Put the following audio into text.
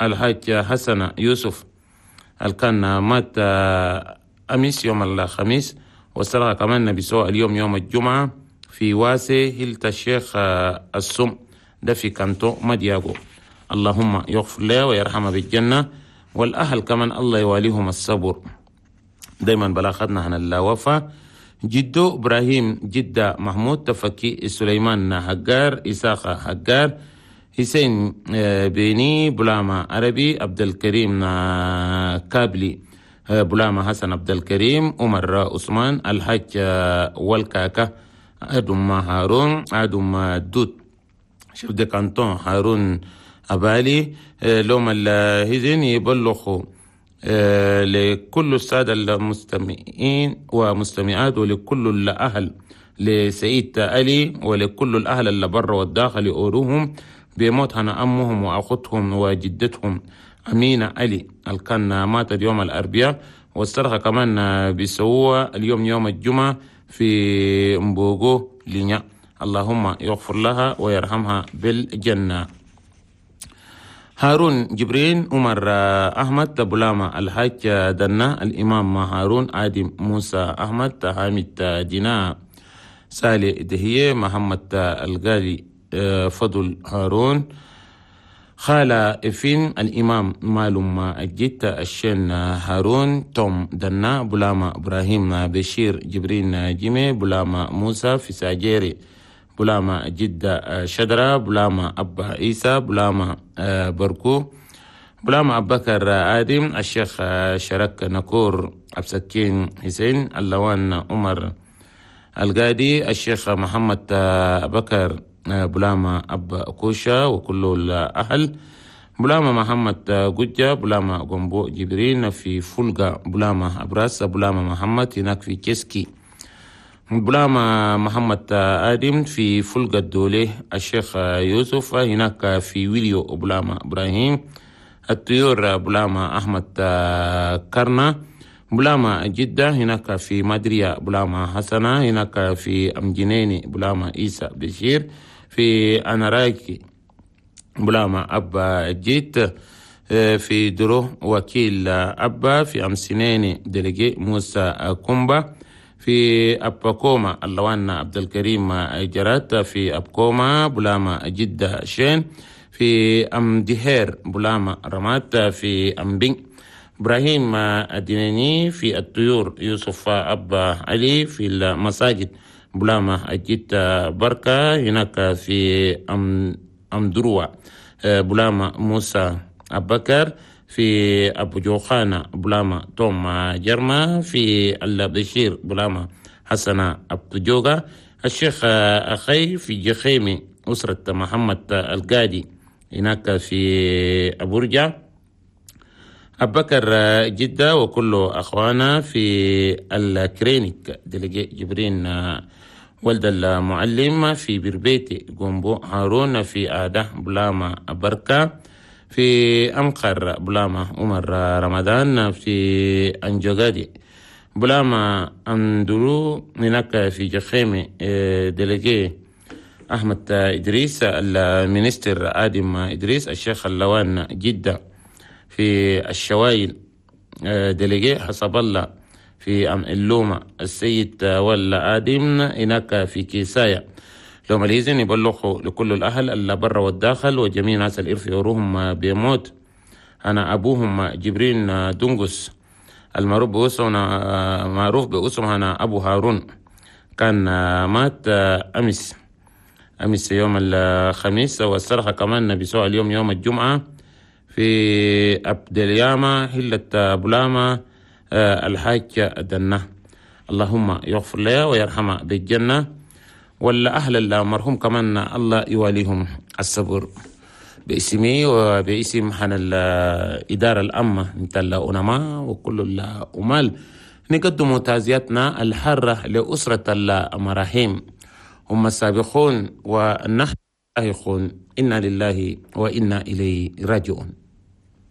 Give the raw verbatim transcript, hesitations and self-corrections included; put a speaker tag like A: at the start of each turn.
A: الحاج حسن يوسف الكان مات أمس يوم الخميس، والصرخة كمان بيسوى اليوم يوم الجمعة في واسي هلت الشيخ السم ده في كانتو مدياغو. اللهم يغفر له ويرحمه بالجنة، والأهل كمان الله يواليهم الصبر. دايما بلاغتنا عن الوفاة جدو إبراهيم جدة محمود تفكي سليمان حجار إساقة حجار حسين بيني بلاما عربي عبد الكريم كابلي بلاما حسن عبد الكريم عمر عثمان الحاج والكاكا أدم هارون أدم دوت chef de canton هارون أبالي. لوم الهزين يبلغوا لكل السادة المستمعين ومستمعات ولكل الأهل لسيد علي ولكل الأهل اللي برا والداخل يقولوهم بموت هنا أمهم وأختهم وجدتهم أمينة علي الكان ماتت يوم الأربعاء، والصرخة كمان بيسووها اليوم يوم الجمعة في مبوغو لينيا. اللهم يغفر لها ويرحمها بالجنة. هارون جبرين عمر أحمد بلاما الحاج دنا الإمام هارون آدم موسى أحمد حامد دينا سالي دهية محمد الغالي فضل هارون خالة إفين الإمام مالوم الجيت الشين هارون توم دنا بلاما إبراهيم بشير جبرين جيمي بلاما موسى في ساجيري بلاما جدة شدرة بلاما أبا عيسى بلاما بركو بلاما أبو بكر آدم الشيخ شرك نكور أبسكين حسين اللوان عمر القادي الشيخ محمد بكر بلاما أبا كوشا وكل الأهل بلاما محمد قجة بلاما قنبو جبرين في فلقة بلاما أبراس بلاما محمد هناك في كيسكي بلاما محمد آدم في فلقة الدولة الشيخ يوسف هناك في ويليو بلاما إبراهيم الطيور بلاما أحمد كرنا بلاما جدة هناك في مدريا بلاما حسنة هناك في أمجنيني بلاما إيسى بشير في أناراكي بلاما أبا جيت في درو وكيل أبا في أمسنيني دلقي موسى كومبا في أبكوما اللوان عبد الكريم جرات في أبكوما بلاما جدة شين في أمدهير بلاما رمات في أمبين إبراهيم الديناني في الطيور يوسف أبا علي في المساجد بلاما أجيت بركة هناك في أم أمدروة بلاما موسى أبكر في أبو جوخانة بلاما توم جرما في البشير بلاما حسن أبو جوغا الشيخ أخي في جخيمي أسرة محمد القادي هناك في أبورجا أبكر جدة وكل أخوانا في الكرينيك دلقي جبرين ولد المعلم في بربيتي قنبو هارون في آدة بلاما بركة في أمقر بلاما عمر رمضان في أنجوغادي بلاما أندرو هناك في جخيمي دلقي أحمد إدريس المينستر آدم إدريس الشيخ اللوان جدة في الشوايل دلقي حسب الله في أم اللومة السيد ولا آدم هناك في كيسايا. لو الإذن يبلغوا لكل الأهل اللي برا والداخل وجميع ناس الإرث يروهم بيموت. أنا أبوهم جبرين دونغوس المعروف باسمه معروف باسمه أنا أبو هارون كان مات أمس أمس يوم الخميس، والصرخة كمان بيسوى اليوم يوم الجمعة في أبدلياما هلة بلاما الحاج دنة. اللهم يغفر له ويرحمه بالجنة، ولا أهل المرحوم كمان الله يواليهم الصبر. باسمي وباسم حن الإدارة الأمة مثل الأنماء وكل الأمال نقدم تعزيتنا الحارة لأسرة المراحيم، هم السابقون ونحن لاحقون، إنا لله وإنا إليه راجعون.